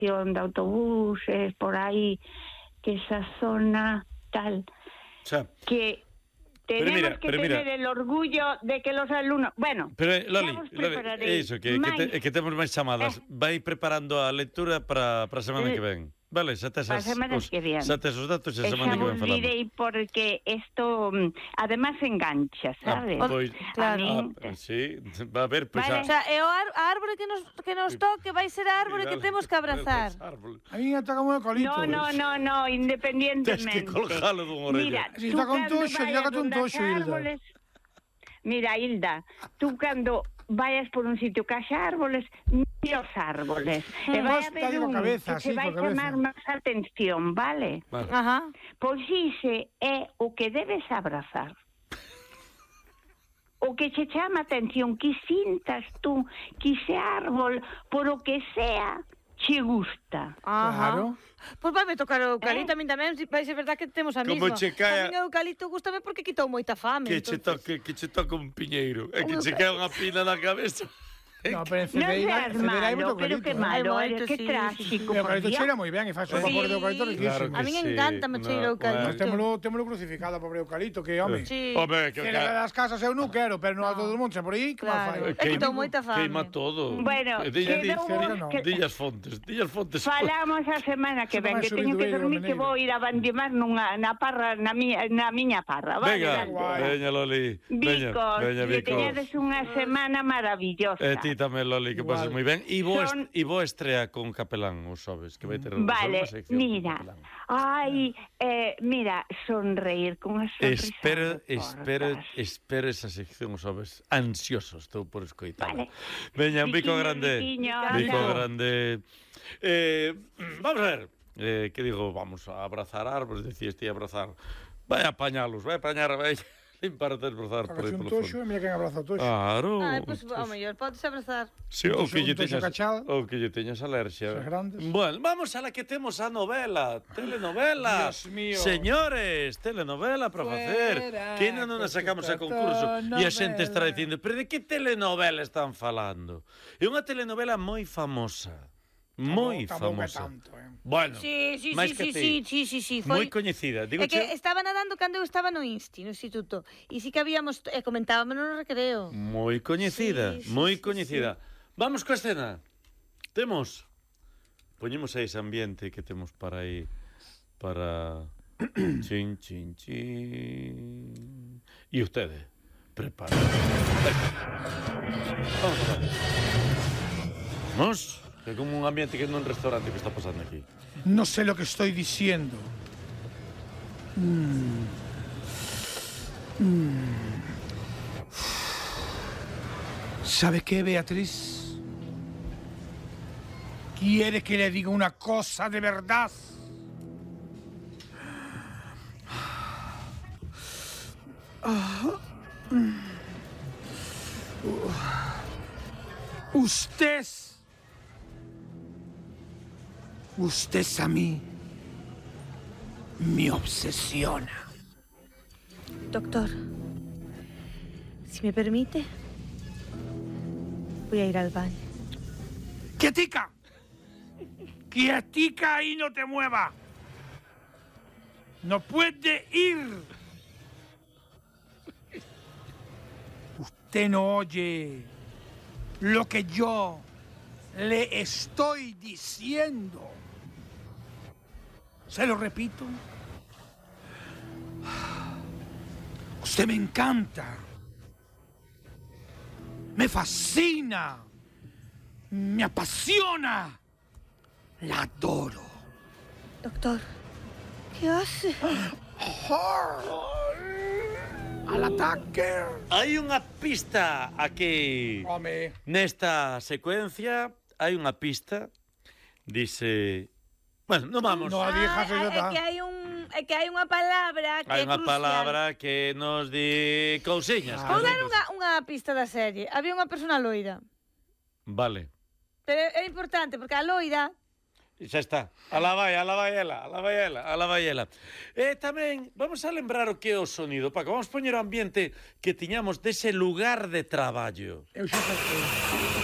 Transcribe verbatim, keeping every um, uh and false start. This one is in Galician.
estación de autobuses, por aí, que esa zona tal, xa. que tenemos mira, que pero tener mira. el orgullo de que los alumnos... Bueno, Pero, Loli, xa vos Loli, prepararei iso, que, que, máis. te, que temos máis chamadas. Eh. Vai preparando a lectura para a semana Eh. que ven. Vale, xa tes Para as, semana os, que ven. xa tes os datos e a E semana xa que vos ven falamos. direi porque isto, mm, además, engancha, sabes? Ah, pois, A Claro. min- ah, sí, va a ver, pois Vale. O xa. sea, e o ar- a árbore que nos, que nos toque vai ser a árbore que temos que abrazar. A mí me toca un eucalipto. No, no, no, no, independientemente. Tes que colgalo dunha orella. Mira, Si tú está con cando toxo, vayas dígate un donde toxo, haxa Hilda. árboles... Mira, Hilda, tú cando vayas por un sitio que haxa árboles, mira os árboles. E vai Vos haber dale coa un cabeza, que sí, te vai coa cabeza. chamar máis atención, vale? Vale. Ajá. Pois ixe é o que debes abrazar. O que che chama atención, que sintas tú que ese árbol, por o que sea, che gusta. Ajá. Claro. Pois vai me tocar o eucalipto, Eh? a min tamén, si vai ser verdad que temos a Como mesma. che caia- A min o eucalipto gustame porque quitou moita fame. Que che entonces- toque, que che toque un piñeiro. E que Un che cae unha pina na cabeza. No, pero en Non Cedeira, seas Cedeira hai moito malo, pero eucalipto. que eh. malo, Hai eh, moito, que sí, trágico, O por eucalipto Dios. cheira moi ben e faz un Sí. vapor de eucalipto Claro riquísimo. que A min sí. encántame o cheiro No, eucalipto. Nós témolo, témolo crucificado, pobre eucalipto, que home. Sí. Home, que Que ca- das casas eu non quero, pero no alto do monte, por aí, que mal Claro. fai? É que quitou moita fame. Queima todo. Bueno, Eh, dilla- quedou dilla- un- que- Dillas fontes, dillas fontes. Falamos a semana que ven, Semana que teño que subido dormir, aí, que vou ir a bandimar nunha, na parra, na miña, na miña parra. Vale, Venga, dale. veña Loli. Veña, Bicos, veña, que Bicos. teñades unha semana maravillosa. E ti tamén, Loli, que pases Igual. moi ben. E vos, Son- e vos estrea con Capelán, os sabes, que vai ter Vale, unha sección con mira, Capelán. ai, eh, mira, sonreír con unha sonrisa. Espero, de espero, portas. espero esa sección, sabes, ansioso estou por escoitala. Vale. Veña, un bico Biquiño, grande. biquiño, Bico anda. grande. Eh, vamos a ver, eh, que digo, vamos a abrazar árboles, decías ti abrazar. Vai a apañalos, vai a apañar, vai limpar te abrazar por aí Agachei un polo toxo e fondo. mira quen abraza o toxo. Claro. Ah, pois, ao mellor, podes abrazar. Sí, ou Un que lle toxo teñas, cachado. ou que lle teñas alerxia. Esas grandes. Bueno, vamos a la que temos a novela, telenovela. Dios mío. Señores, telenovela para facer. Fuera, Que non nos sacamos a concurso e a xente estará dicindo, pero de que telenovela están falando? É unha telenovela moi famosa. Moi Tampouco é famosa. tanto, eh. Bueno, Sí, sí, máis sí, que sí, ti. sí, sí, sí, sí, Moi foi... coñecida. Digo É que estaba nadando cando eu estaba no Insti, no instituto. E sí que habíamos, e comentábamos no recreo. moi coñecida, Sí, sí, moi sí, coñecida. Vamos coa escena. Temos poñemos aí ese ambiente que temos para aí para chin chin chin. E ustedes preparen. Vamos a ver. Vamos, que é como un ambiente que non un restaurante que está pasando aquí. No sé lo que estoy diciendo. Mm. Mm. ¿Sabe qué, Beatriz? ¿Quiere que le diga una cosa de verdad? Usted, usted a mí me obsesiona. Doctor, si me permite, voy a ir al baño. ¡Quietica! ¡Quietica y no te mueva! ¡No puede ir! Usted no oye lo que yo le estoy diciendo. Se lo repito. Usted me encanta. Me fascina. Me apasiona. La adoro. Doctor, ¿qué hace? Al ataque. Hai unha pista aquí. Home. Nesta secuencia hai unha pista. Dice, bueno, non vamos. No, a vieja Ah, se é está. que hai un é que hai unha palabra que Hai é unha crucial. palabra que nos di cousiñas. Vou que dar nos- unha, unha pista da serie. Había unha persona loira. Vale. Pero é importante porque a loira Xa está. Alá vai, alá vai ela, alá vai ela, alá vai ela. E tamén, vamos a lembrar o que é o sonido, Paco. Vamos poñer o ambiente que tiñamos dese lugar de traballo. Eu xa sei.